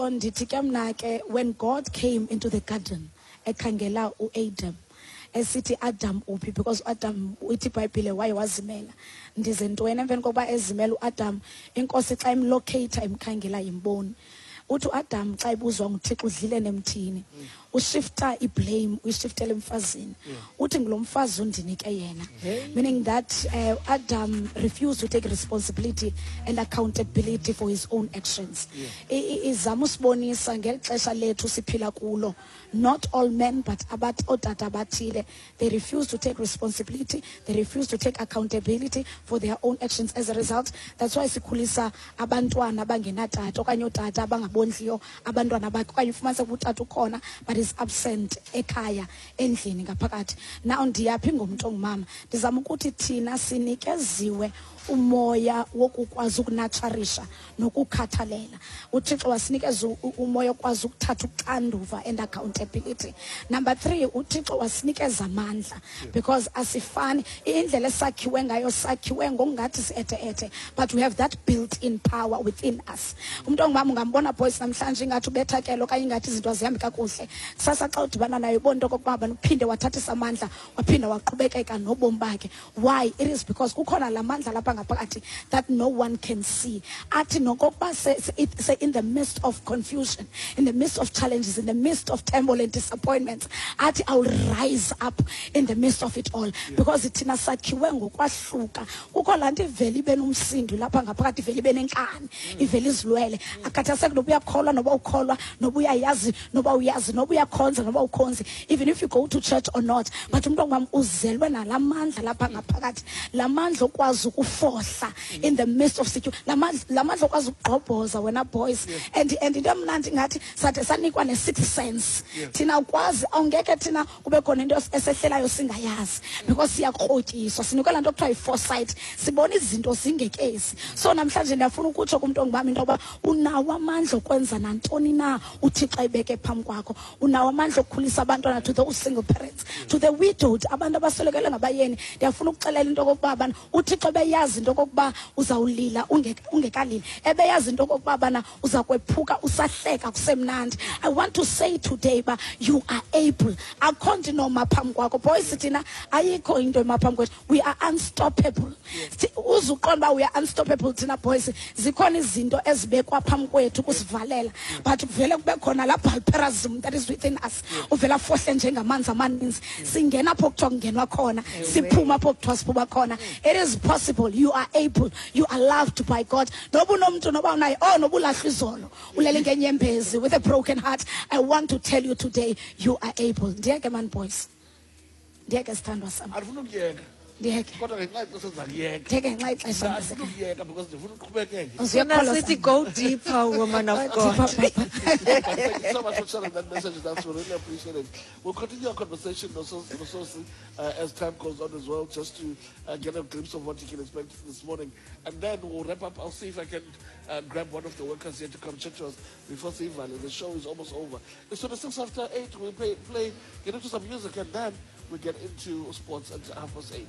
So ndithi ke mna ke, when God came into the garden ekhangela uAdam, esithi, "Adam, uphi?" Because uAdam, ithi iBhayibhile, waye wazimela. Ndize ntweni? Emveni kokuba ezimela uAdam, iNkosi xa imlocate, imkhangela, imboni, uthi uAdam xa ibuzwa nguThixo, "Udlile nemthini?" Ushifta iblame, uyishiftela emfazini. Uthi, "Ngulo mfazi undinike yena," meaning that Adam refused to take responsibility and accountability for his own actions. Izama usibonisa ngeli xesha lethu siphila kulo, not all men, but ootata abathile, they refuse to take responsibility, they refuse to take accountability for their own actions. As a result, that's why sikhulisa abantwana abangenatata okanye ootata abangabondliyo abantwana bakhe, okanye ufumanise ukuba utata ukhona but is absent ekhaya, endlini ngaphakathi. Now ndiyaphi ngomntu ongumama? Ndizama ukuthi thina sinikeziwe umoya wokukwazi ukunurturisha nokukhathalela. UThixo wasinikeza umoya okwazi ukuthatha uxanduva and accountability. Number three, uThixo wasinikeza amandla, because asifani. Indlela esakhiwe ngayo, sakhiwe ngokungathi si-ethe-ethe, but we have that built in power within us. Umntu ongumama ungambona, boys, namhlanje ingathi ubethakele okanye ingathi izinto azihambi kakuhle. Kusasa xa udibana nayo, ubona into okokuba abantu uphinde wathathisa amandla, waphinda waqhubekeka nobomi bakhe. Why? It is because kukhona la mandla lapha ngaphakathi that no one can see. Athi nokokuba se in the midst of confusion, in the midst of challenges, in the midst of turmoil and disappointments, athi, "I will rise up in the midst of it all," because thina sakhiwe ngokwahluka. Kukho laa nto ivele ibe nomsindo lapha ngaphakathi, ivele ibe nenkani, ivele izilwele, akhathaseki noba uyakholwa, noba ukholwa, noba uyayazi, noba uyazi, noba uyakhonza, noba ukhonzi, even if you go to church or not. But umntu ongumama uzelwe nalaa mandla lapha ngaphakathi, laa mandla okwazi ukufohla in the midst of situ, laa mandla okwazi ukugqobhoza wena, boys. And into emnandi, ngathi sathi sanikwa ne-sixth sense. Thina ukwazi awungeke thina kube khona into esehlelayo singayazi, because siyakrotyiswa, sinikwe laa nto kuthiwa yi-foresight, sibona izinto zingekezi. So namhlanje ndiyafuna ukutsho kumntu ongumama into yoba unawo amandla okwenza nantoni na uThixo ayibeke phambi kwakho. Unawo amandla okukhulisa abantwana. To those single parents, to the widowed, abantu abaswelekelwe ngabayeni, ndiyafuna ukuxelela into okokuba bana uThixo ebeyazi into okokuba uzawulila ungekalili, ebeyazi into okokuba bana uza kwephuka usahleka kusemnandi. I want to say today ba you are able. Akho nto inoma phambi kwakho, boys. Thina ayikho into ema phambi kwethu. We are unstoppable. Uze uqonde uba we are unstoppable thina, boys, zikhona izinto ezibekwa phambi kwethu ukusivalela, but kuvele kube khona laa Baalperazim that is within us, uvele afohle njengamanzi amaninzi. Singena apho kuthiwa kungenwa khona, siphuma apho kuthiwa siphuma khona. It is possible. You are able. You are loved by God. Noba unomntu, noba unaye, oh, noba ulahlwa izolo, ulele ngenyembezi with a broken heart, I want to tell you today, you are able. Ndiyeke man, boys, ndiyeke, sithandwa sam. Andifuna ukuyeka. Ndiyeke. Kodwa ngenxa yexesha ndizakuyeka. Ndiyeke ngenxa yexesha. Andifuna ukuyeka because ndifuna uqhubekeke. Uzuyakholosa. Sithi go deeper, woman of God. But thank you so much for sharing that message with us. We really appreciate it. We'll continue our conversation, Nososi, as time goes on as well, just to get a glimpse of what you can expect this morning. And then we'll wrap up. I'll see if I can grab one of the workers here to come chat to us before Sivale. The show is almost over. It's 26 after 8. We'll play, get into some music, and then we get into sports at 8:30.